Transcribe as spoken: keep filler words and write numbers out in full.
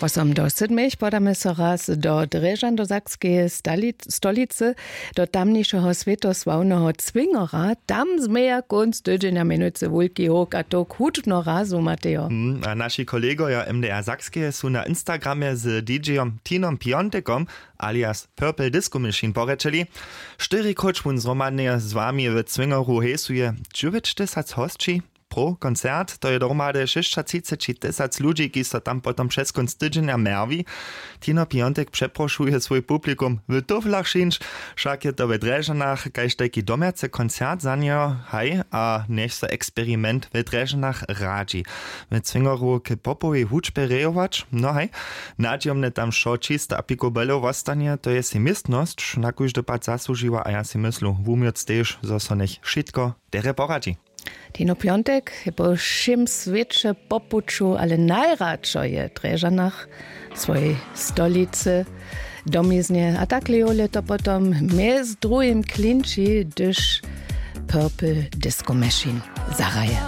Posom do sydmich podamy so raz do drježan do sakskeje stolicy, do tamnišeho swětosławneho cwingora. Tam změja kónc tydźenja měnujcy wulki howk a towk hudźbno razu matejo. Hmm, a naši kolegojo mdr sakskeje su na instagramje z dj-om tinom piontekom alias purple disco machine porěčeli. Štyri króć wón zhromadnje z wami w cwingoru hejsuje dźewjećtysac hosći. Pro koncert to je dohromady šěsćatřiceći tysac ludźi, kiž so tam potom přez kónc tydźenja mjerwi. Tino piontek přeprošuje swój publikum w tuflach šińć. Wšak je to we drježanach kaž tajki domjacy koncert za njeho haj a njech so eksperiment we drježanach radźi we cwingoru k popowej hudźbje rejować. No haj, nadźijomnje tam wšo čisto a picobello wostanje, to je sej městnosć na kóždy pad zasłužiła a ja sej myslu wumjoc tež zo so njech wšitko derje poradźi. Tino piontek je po wšěm swěće po puću ale najradšo je w drježanach swojej stolicy, domiznje a tak lejowle to potom mjez druhim klinči hdyž purple disco machine zahraje.